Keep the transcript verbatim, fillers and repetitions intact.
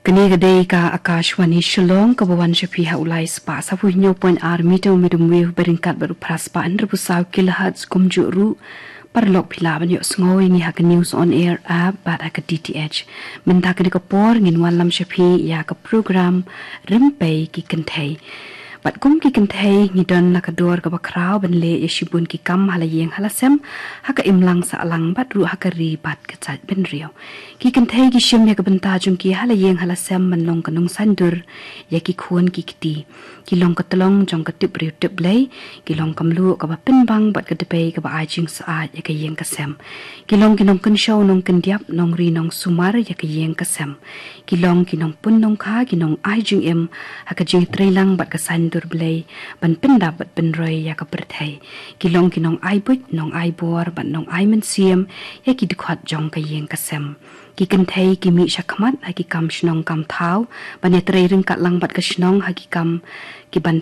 Kane ka dei ka Akashvani Shillong kaba wan sha phi ha u lai spah saphew hynñiew point ar meter medium wave ba ryngkat bad u phra spah hynriewphew saw kilohertz. Kumjuh ruh paralok phi lah ban ïohsngew ïa ngi ha ka News on Air app bad ha ka D T H. Mynta kane ka por ngin wanlam sha phi ïa ka program Rympei ki Kynthei. Bad kum ki kynthei ngi don la ka dor kaba khraw ban leh ïa shibun ki kam ha la ïing ha la sem, ha ka imlang sahlang bad ruh ha ka ri bad ka jaitbynriew. Ki kynthei ki shim ïa ka bynta jong ki ha la ïing ha la sem ban long ka nongsaindur ïa ki khun ki kti. Ki long ka tlong jong ka tip briew tip Blei, ki long ka mluh kaba pynbang bad ka dpei kaba ai jingsyaid ïa ka ïing ka sem. Ki long ki nongkynshew nongkyndiap, nongri nongsumar ïa ka ïing ka sem. Ki long ki nongpun nongkha, ki nongai jingim ha ka jingtreilang bad ka saindur Blei, ban pyndap bad pynroi ïa ka pyrthei. Ki long ki nongai buit, nongai bor bad nongai mynsiem ïa ki dkhot jong ka ïing ka sem. Ki kynthei ki mih shakhmat ha ki kam shnong kam thaw, ban ïatrei ryngkat lang bad ka shnong ha ki kam ki ban